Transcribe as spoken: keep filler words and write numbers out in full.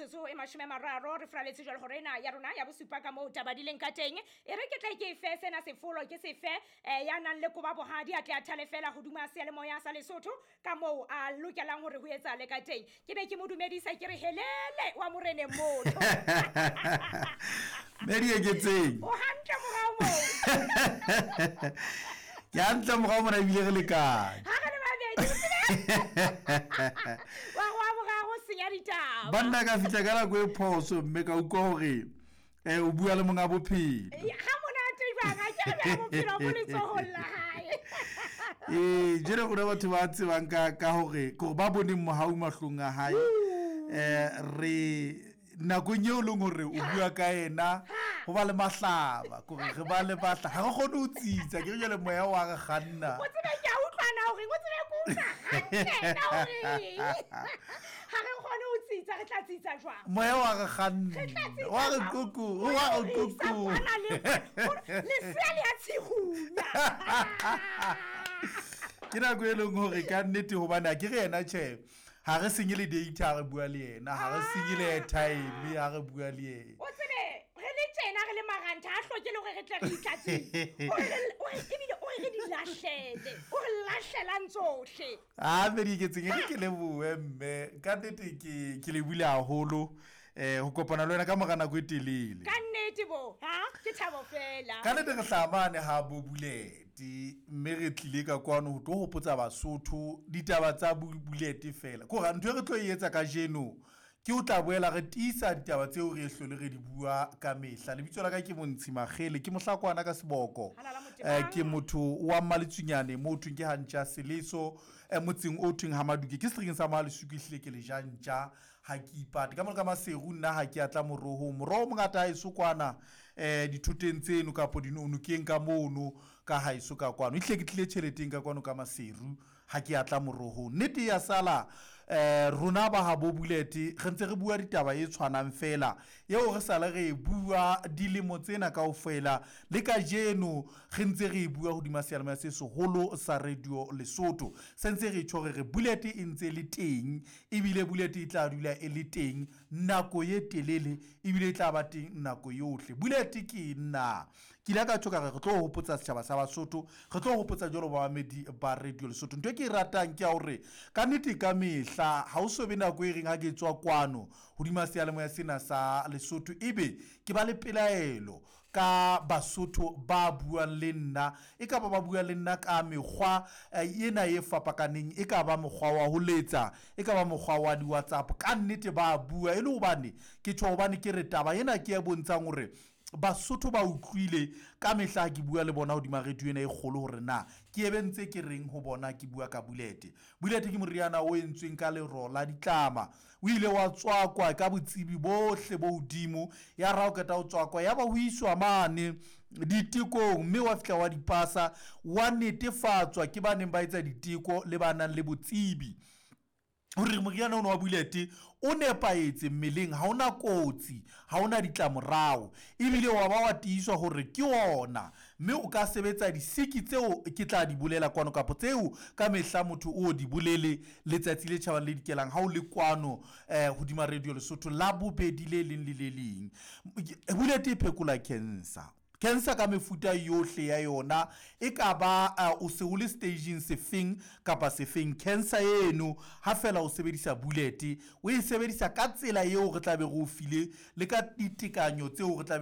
metsotso e mashome a mararo re fraletse jwale hore ena ya rona ya bosupa ka moo taba di leng ka teng. E re ke tle ke fe sena sefolo ke sefe eh, ya nang le koba bohadi a tle a thale fela hodima seyalemoya sa Lesotho ka moo a lokelang hore ho etsahale ka teng. Ke be ke mo dumedisa ke re helele wa moreneng motho. Mme Dieketseng. O hantle morao moo. Ke hantle morao mona ebile re lekane. Ha re le babedi. Wa go wa senya ditaba. Banna ka fihla ka nako e phoso mme ka utlwa hore eh o bua le monga bophelo. Ha monate jwang ha ke re bophelo bo letsohong la hae. Eh jere rona batho ba tsebang ka ka hore ke ba boneng mohau mahlong a hae. Eh re nakong eo leng hore o bua ka yena ho ba le mahlaba kore re ba le batla ha re kgone ho tsitsa ke re jwale moya wa re kganna. O tsebe ke a utlwana hore o tsebe ke utlwa hantle na hore ha re kgone ho tsitsa re tla tsitsa jwang. Moya wa re kganna wa re kuku wa re kuku lesea le a tshihunya. Ke nako e leng hore ka nnete hobane ha ke re yena tjhe ha re senye le data re bua le yena, ha re senye le airtime ha re bua le yena. O tsebe re le tjena re le marantha ha hloke le hore re tle re itlatse. O re o re ebile o re di lahlele, o re lahlelang tsohle. Ah mme Dieketseng ke ke lebohe mme ka nnete ke ke le bule haholo eh ho kopana le wena ka mora nako e telele. Ka nnete bo, ha ke thabo fela. Ka nnete re hlamane ha bo Bulete mme re tlile ka kwano ho tlo hopotsa Basotho ditaba tsa Bulete fela. Ko ra ntho e re tlo e etsa kajeno ke o tla boela re tiisa ditaba tseo re hlole re di bua ka mehla. Lebitso la ka ke Montshi Makgele, ke mohlakwana ka seboko. Eh ke motho wa Mmaletsunyane mo thweng ke Hantja Seleso eh motseng o thweng ha Maduke ke seterekeng sa Mahaleswiki hlile ke lejantja ha ke ipate. Ka mona ka Maseru nna ha ke atla moroho, moroho mongata ha eso kwana eh dithoteng tseno kapo dinonokeng ka mono ka ha eso ka kwano. Ehlile ke tlile tjheleteng ka kwano ka Maseru ha ke atla moroho. Nnete ya sala eh rona ba ha bo Bulete re ntse re bua ditaba e tshwanang fela eo re sala re bua dilemo tsena kaofela le kajeno re ntse re bua hodima seyalemoya se seholo sa Radio Lesotho. Se ntse re tjho re Bulete e ntse le teng ebile Bulete e tla dula e le teng nako e telele ebile e tla ba teng nako yohle. Bulete ke nna ke ile ka tjho ka re re tlo hopotsa setjhaba sa Basotho, re tlo hopotsa jwalo ba bamedi ba Radio Lesotho. Ntho e ke e ratang ke ya hore ka nnete ka mehla ha o so be nako e reng ha ke tswa kwano hodima seyalemoya sena sa Lesotho ebe ke ba le pelaelo ka Basotho ba buang le nna, e ka ba ba bua le nna ka mekgwa ena e fapakaneng, e ka ba mokgwa wa ho letsa, e ka ba mokgwa wa di-WhatsApp. Ka nnete ba bua e le hobane ke tjho hobane ke re taba ena ke e bontshang hore Basotho ba utlwile ka mehla ke bua le bona hodima radio ena e kgolo hore na ke ebe ntse ke reng ho bona ke bua ka Bulete. Bulete ke moriana o entsweng ka lero la ditlama, o ile wa tswakwa ka botsebi bohle bo hodimo, ya ra o qeta ho tswakwa ya ba ho iswa mane ditekong mme wa fihla wa dipasa wa netefatswa ke ba neng ba etsa diteko le ba nang le botsebi hore moriana ono wa Bulete o nepahetse mmeleng, ha ona kotsi, ha ona ditlamorao, ebile wa ba wa tiiswa hore ke ona mme o ka sebetsa disiki tseo ke tla di bolela kwano kapo tseo ka mehla motho o di bolele letsatsi le tjhabang le dikelang ha o le kwano eh hodima Radio Lesotho la bobedi le leng le le leng. Bulete e phekola cancer. Cancer ka mefuta yohle ya yona, e ka ba uh, o se o le staging sefeng kapa sefeng. Cancer eno ha fela o sebedisa Bulete o e sebedisa ka tsela eo re tla be re o file le ka ditekanyo tseo re tla be